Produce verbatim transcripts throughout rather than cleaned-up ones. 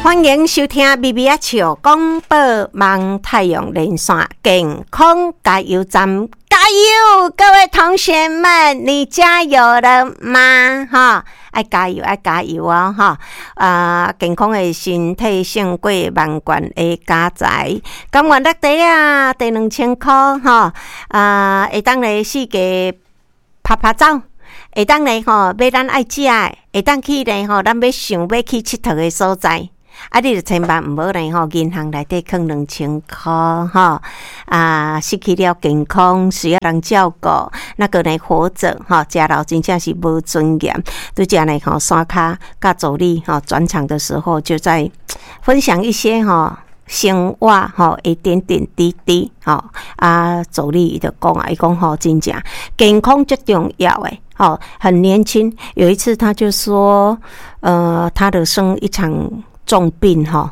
歡迎收聽《微微仔笑廣播網太陽連線健康加油站》，加油！各位同學們，你加油了嗎？哈，愛加油，愛加油哦！哈，啊，健康的身體勝過萬貫的家財。甘願落地啊，第兩千箍吼，啊，會當來四界拍拍走。會當來吼買咱愛食的，會當去咧吼，咱欲想欲去𨑨迌的所在。啊！你著千萬毋好咧吼，銀行內底囥兩千箍吼，啊，失去了健康，需要人照顧，那閣呢活著吼，食老真正是無尊嚴。拄才呢吼，山跤佮助理吼轉場的時候，就在分享一些吼生活吼一點點滴滴吼。啊，助理伊就講啊，伊講吼真正健康足重要的吼，很年輕。有一次他就說，呃，他的生一場重病吼，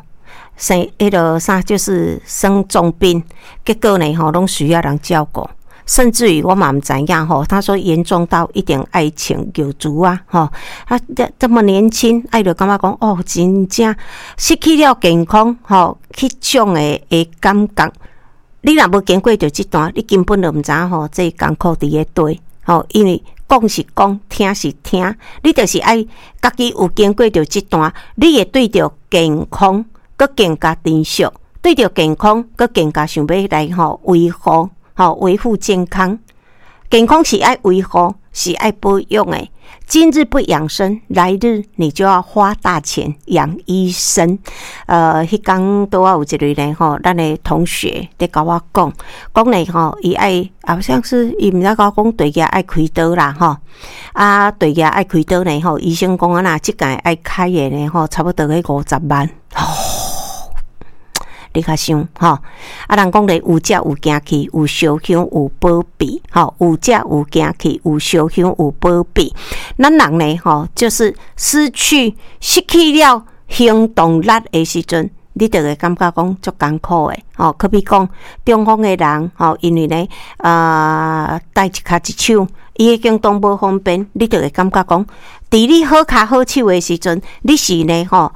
生彼个啥就是生重病，結果呢吼攏需要人照顧，甚至於我嘛毋知影吼，他說嚴重到一定愛穿尿苴仔吼，啊這這麼年輕，啊伊就感覺講哦，真正失去了健康吼，彼種的的感覺，你若無經過著這段，你根本就毋知影吼，這艱苦佇咧佗吼，因為講是講，聽是聽，你就是愛家己有經過著這段，你會對著健康閣更加珍惜，對著健康閣更加想欲來吼維護，吼維護健康。健康是愛維護，是愛保養的。今日不養生，來日你就要花大錢養醫生。呃，彼工拄仔有一个呢吼，咱的同學佇共我講，講呢吼，伊愛好像是伊毋知共我講對額愛開刀啦吼，啊對額愛開刀呢吼，醫生講啊若這屆愛開的呢吼，差不多欲五十萬。你較想吼，啊人講咧有食有行去，有燒香有保庇，吼有食有行去，有燒香有保庇。咱人呢吼，就是失去失去了行動力的時陣，你就會感覺講足艱苦的，吼。可比講中風的人，吼，因為呢，啊，帶一跤一手，伊的行動無方便，你就會感覺講，佇你好跤好手的時陣，你是呢吼，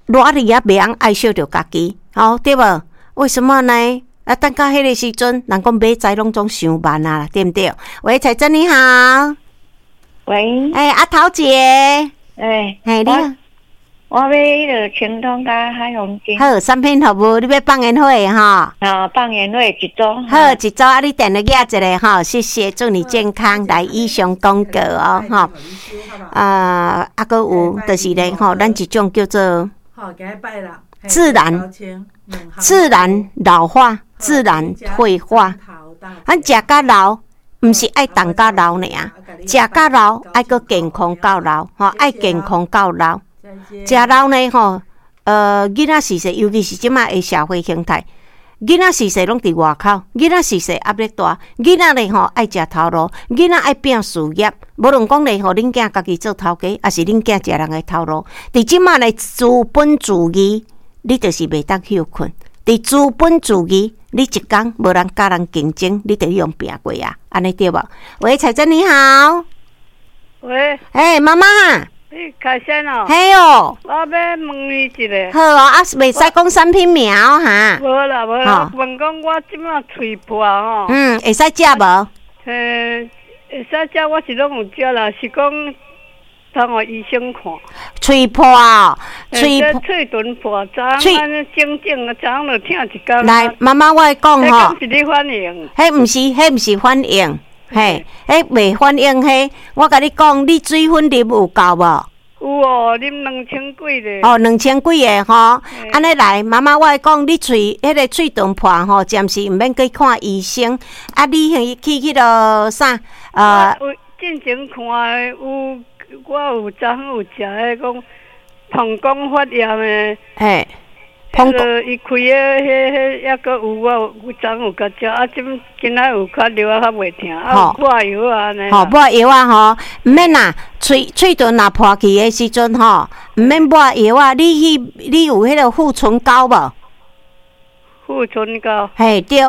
賴佇遐袂曉愛惜著家己。吼，對無？為什麼呢？啊，等到彼个時陣，人講買菜攏總傷慢啊，對毋對？喂，彩珍你好。喂。欸，阿桃姐。欸，嘿，你好。我欲彼个清湯佮海紅金。好，產品服務，你欲放煙火吼？啊，放煙火一組。好，一組啊！你電話寄一下吼，謝謝，祝你健康。來，以上廣告哦，吼。啊，啊，閣有，就是咧吼，咱一種叫做。好，今日拜啦。自然，自然老化，自然退化。咱食甲老，毋是愛動甲老爾，食甲老愛閣健康到老，吼，愛健康到老。食老呢，吼，呃，囡仔序細，尤其是這馬的社會形態，囡仔序細攏佇外口，囡仔序細壓力大，囡仔咧吼愛食頭路，囡仔愛拼事業，無論講咧吼，恁囝家己做頭家，抑是恁囝食人的頭路，佇這馬的資本主義，你就是袂當歇睏。佇資本主義，你一工無人佮人競爭，你就予人拚過啊，按呢對無？喂，彩珍你好。喂。欸，媽媽。你開線哦。嘿哦。我欲問你一下。好哦，啊，袂使講產品名哦，哈。無啦無啦，問講我這馬喙破吼。嗯，會使食無？嘿，會使食，我是攏有食啦，是講通予醫生看。喙破哦，喙喙唇破，昨昏按呢整整，昨昏就疼一工。來，媽媽，我會講吼。彼是你反應？彼毋是，彼毋是反應，嘿，彼袂反應，彼我共你講，你水分啉有夠無？有哦，啉兩千幾個。哦，兩千幾个吼，按呢來，媽媽，我會講，你喙彼个喙唇破吼，暫時毋免去看醫生。啊，你去去彼个啥？呃，有進前看的有，我有昨昏有食彼講膀胱發炎的。嘿，彼个伊開的彼彼抑閣有，我有昨昏有共食，啊，這今仔有較藥仔較袂疼，啊，有抹藥仔按呢。吼，抹藥仔吼，毋免啦，喙喙唇若破去的時陣吼，毋免抹藥仔，你去你有彼個護唇膏無？護唇膏。嘿，對，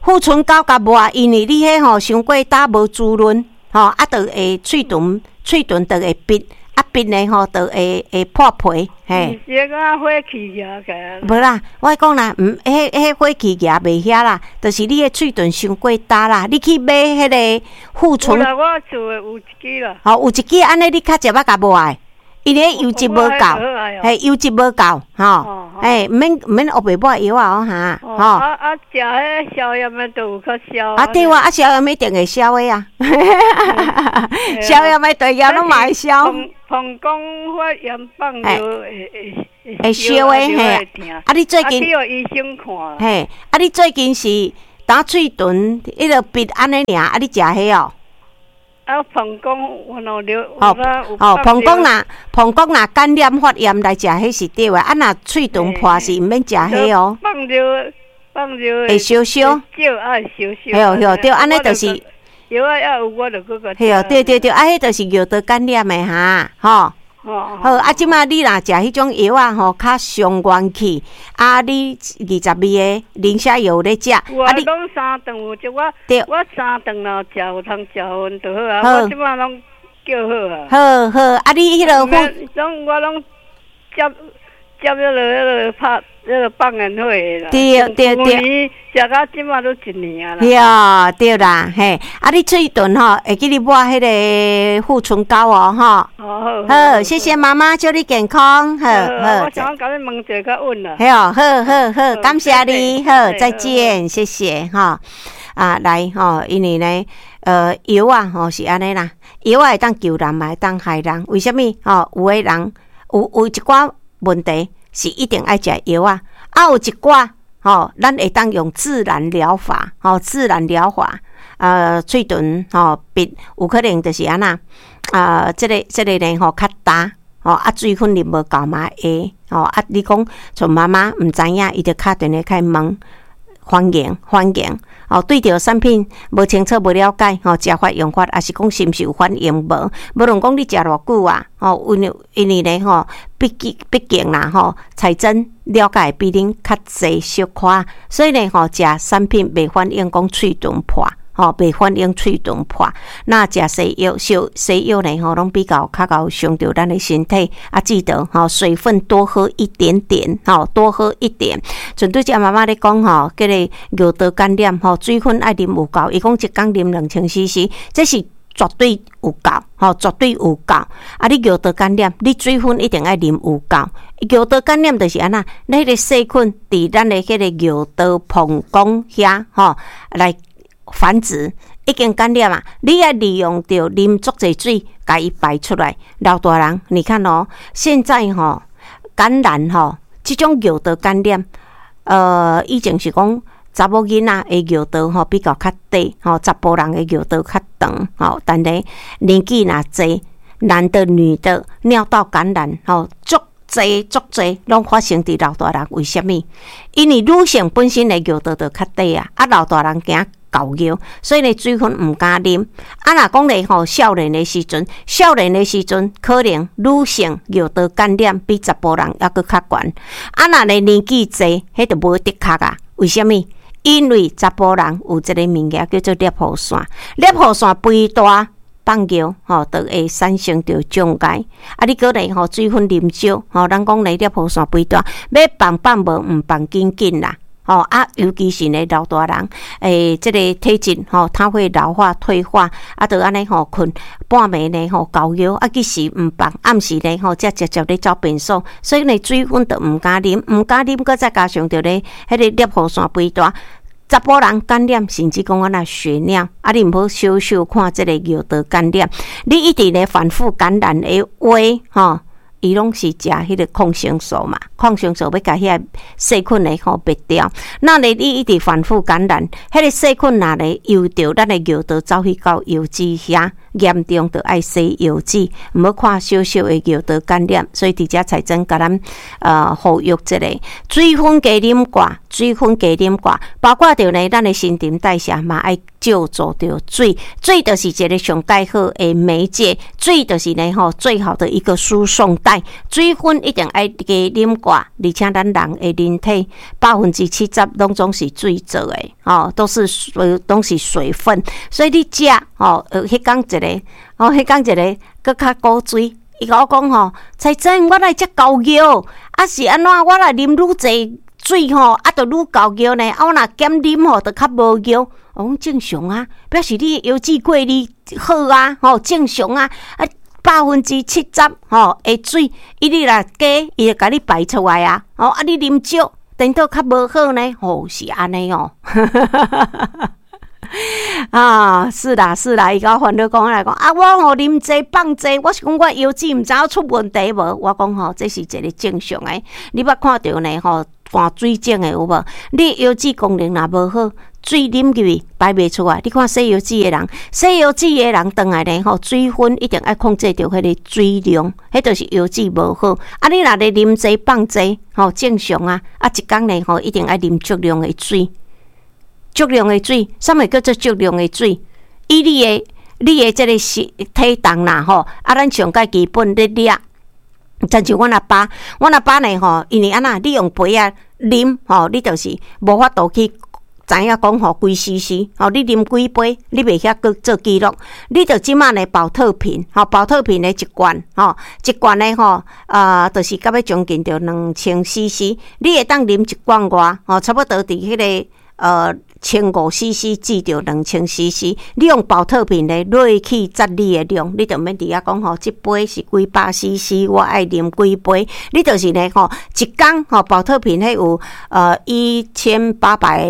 護唇膏共抹，因為你彼吼傷過焦無滋潤，吼，啊，就會喙唇喙唇就會癟，啊，啊，鼻的吼，就會會破皮，嘿。毋是講火氣額起來。無啦，我講啦，毋，彼彼火氣額袂遐啦，就是你的喙唇傷過焦啦，你去買彼个護唇。有啦，我厝的有一支啦。吼，有一支按呢，你較食捌共無愛？因為油脂無夠，嘿，油脂無夠，吼，嘿，毋免毋免烏白抹藥啊，哈，吼。啊啊，食彼消炎的就有較消。啊對啊，啊消炎一定會消的啊，消炎的對藥攏嘛會消。膀胱發炎放尿會會會燒的嘿。啊你最近去予醫生看。嘿，啊你最近是焦喙唇，彼个鼻按呢爾，啊你食彼哦？啊，膀胱有兩尿，哦哦，膀胱若膀胱若感染發炎來食彼是對的，啊若喙唇破是毋免食彼哦。放尿放尿會燒燒，少愛燒燒。對對對，按呢就是。藥仔也有，我就閣共。對對對對，啊，彼就是尿道感染的哈，吼。好，啊，這擺你若食彼種藥仔吼，較傷元氣。啊，你二十二个磷蝦油有咧食。有啊，攏三頓有食我，我三頓若食有通食薰就好啊。我這擺攏叫好啊。好好，啊，你彼个攏我攏接接彼个彼个拍彼个放煙火的啦。對對對。食到這擺都一年啊啦。對對啦，嘿，啊，你喙唇吼，會記你抹彼个護唇膏哦，吼。好，好，謝謝媽媽，祝你健康，好好。我想共你問一下較穩啦。嘿哦，好好好，感謝你，好，再見，謝謝，吼。啊，來吼，因為呢，呃，藥仔吼是按呢啦，藥仔會當救人嘛，會當害人。為啥物？吼，有的人有有一寡問題是一定愛食藥仔，啊，有一寡吼，咱會當用自然療法，吼，自然療法，呃，喙唇吼鼻有可能就是按怎，啊，這个這个呢吼較焦，吼啊水分啉無夠嘛會，吼啊你講像媽媽毋知影，伊就敲電話去問，歡迎歡迎，哦對著產品無清楚無了解，吼食法用法，抑是講是毋是有反應無？無論講你食偌久啊，吼因為因為呢吼，畢竟畢竟啦吼，彩珍了解比恁較濟小可，所以呢吼，食產品袂反應講喙唇破。吼，袂反應喙唇破。那食西藥，西西藥呢？吼，攏比較較𠢕傷著咱的身體。啊，記得吼，水分多喝一點點，吼，多喝一點。像拄才媽媽咧講吼，這個尿道感染吼，水分愛啉有夠。伊講一工啉兩千 C C，這是絕對有夠，吼，絕對有夠。啊，你尿道感染，你水分一定愛啉有夠。尿道感染就是按怎，咱彼个細菌佇咱的彼个尿道膀胱遐，吼，來繁殖已經感染啊！你愛利用著啉足濟水，共伊排出來。老大人，你看哦，現在吼感染吼，這種尿道感染，呃，以前是講查某囡仔的尿道吼比較較短，吼查埔人的尿道較長，吼，但是年紀若濟，男的女的尿道感染吼足濟足濟攏發生佇老大人，為啥物？因為女性本身的尿道就較短啊，啊老大人驚猴尿，所以呢水分毋敢啉。啊，若講咧吼，少年的時陣，少年的時陣可能女性尿道感染比查埔人猶閣較懸。啊，若咧年紀濟，彼就無的確啊。為啥物？因為查埔人有一个物件叫做攝護腺，攝護腺肥大放尿吼，就會產生著障礙。啊，你閣咧吼水分啉少，吼，咱講咧攝護腺肥大，欲放放無，毋放緊緊啦。吼啊，尤其是呢老大人，欸，這個體質吼，它會老化退化，啊，就按呢吼，睏半暝呢吼猴尿，啊，其實毋放，暗時呢吼，才直接咧走便所，所以呢水分就毋敢啉，毋敢啉，閣再加上著咧，彼个攝護腺肥大，查埔人感染，甚至講按怎血尿，啊，你毋好小小看這个尿道感染，你一直咧反覆感染的話，吼。伊攏是食彼个抗生素嘛，抗生素欲共彼个細菌咧吼滅掉。那咧你一直反覆感染，彼个細菌若咧游著咱的尿道走去到腰子遐，嚴重就愛洗腰子，毋好看小小的尿道感染。所以佇遮彩珍共咱呃呼籲一下，水分加啉寡，水分加啉寡，包括著呢，咱的新陳代謝嘛愛借助著水，水就是一个上蓋好的媒介，水就是呢吼最好的一個輸送帶。水分一定愛加啉寡，而且咱人的人體百分之七十攏總是水做的，吼，都是水，攏是水分。所以你食吼，呃，彼工一个，吼，彼工一个閣較古錐，伊共我講吼，彩珍，我來食厚尿，啊是按怎？我來啉愈濟水吼，啊就愈厚尿呢，啊我若減啉吼，就較無尿。我講正常啊，表示你的腰子過濾好啊，吼正常啊，啊百分之七十吼的水，伊你若加，伊會共你排出來啊，吼啊你啉少，顛倒較無好呢，吼是按呢哦。啊，是啦是啦，伊共我煩惱講來講，啊我吼啉濟放濟，我是講我腰子毋知影出問題無？我講吼，這是一個正常的。你捌看著呢吼，患水腫的有無？你腰子功能若無好，水啉入去排袂出來。你看洗腰子的人，洗腰子的人轉來呢吼，水分一定愛控制著彼个水量，彼就是腰子無好。啊，你若咧啉濟放濟，吼正常啊。啊，一工呢吼，一定愛啉足量的水。足量的水，啥物叫做足量的水？以你的、你的這个是體重啦，吼，啊，咱上蓋基本咧掠，親像阮阿爸，阮阿爸呢吼，因為按怎，你用杯仔啉吼，你就是無法度去知影講吼幾 C C，吼，你啉幾杯，你袂曉閣做記錄，你就這馬呢寶特瓶，吼，寶特瓶的一罐，吼，一罐的吼，啊，就是到欲將近著兩千 C C，你會當啉一罐外，吼，差不多佇彼个呃。千五 C C 至著兩千 C C，你用寶特瓶咧落去節你的量，你就免佇遐講吼，這杯是幾百 C C，我愛啉幾杯，你就是咧吼，一工吼寶特瓶彼有呃一千八百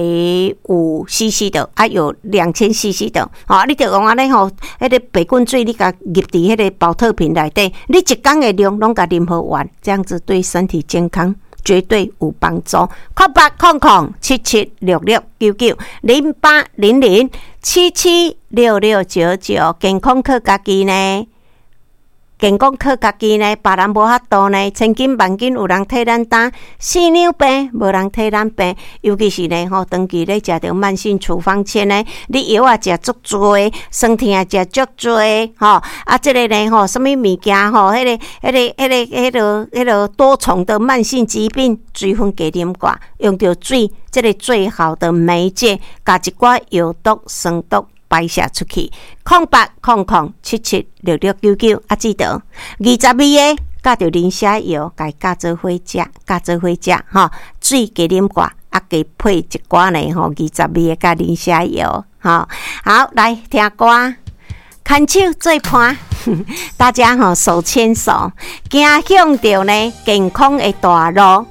五 C C 的，啊有兩千 C C 的，吼，你就用按呢吼，彼个白滾水你共入佇彼个寶特瓶內底，你一工的量攏共啉予完，這樣子對身體健康絕對有幫助。空八空空七七六六九九零八零零七七六六九九，健康靠家己呢？健康靠家己呢？別人無法度呢？千金萬金有人替咱擔，四兩病無人替咱病。尤其是呢吼，長期咧食著慢性處方箋呢，你藥仔食足濟，酸痛食足濟，吼啊，這个呢吼，啥物物件吼，彼个、彼个、彼个、彼个、彼个多重的慢性疾病，水分加啉寡，用著水，這个最好的媒介，共一寡藥毒、酸毒排泄出去。空八空空七七六六九九，啊，記得二十味的，佮著磷蝦油，共伊佮做伙食，佮做伙食，吼，水加啉寡，啊，加配一寡呢，吼，二十味的佮磷蝦油，吼，好，來聽歌，牽手做伴，大家吼手牽手，行向著呢健康的大路，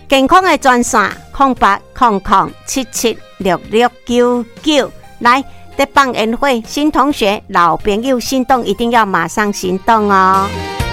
健康的專線空八空空七七六六九九，來。在放煙火，新同學、老朋友心動，一定要馬上行動哦！